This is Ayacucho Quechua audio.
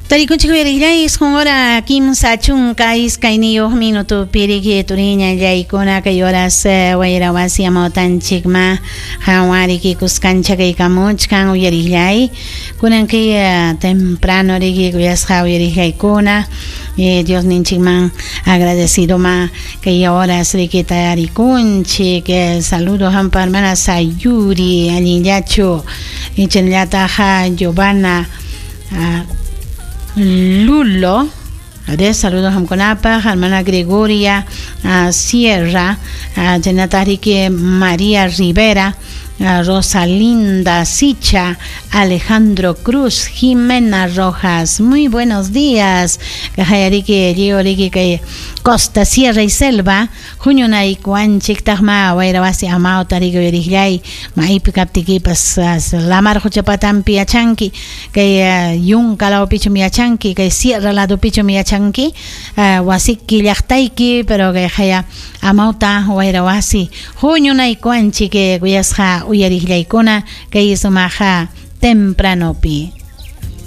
Tarikunchik uyariqllay isqun hora 32 minutopi riki turiñallaykuna kay horas wayra wasi amawtanchikma qanwan riki kuskancha kaykamuchkan uyariqllay kunan kay temprano riki kuyasqa uyariqllaykuna Diosninchikman agradecidoma kay horas riki tarikunchik. Saludo hampa hermana Sayuri allinllachu chaynallataq Giovanna Lulo. De saludos hamkunapaq hermana Gregoria Sierra, chaynataq riki María Rivera, Rosalinda Sicha, Alejandro Cruz, Jimena Rojas. Muy buenos días. Kajayariki, lliw kay Costa, Sierra y Selva, huñunaykuwanchiktaqma wayra wasi amawta riki uyariqllay maypi kaptikipas lamar quchapatampi yachanki kay yunka lawpichum yachanki kay sierra ladopichum yachanki wasiki llaqtayki pero kay haya amawta wayra wasi huñunaykuwanchik kuyasqa uyariqllaykuna kay sumaqa tempranopi.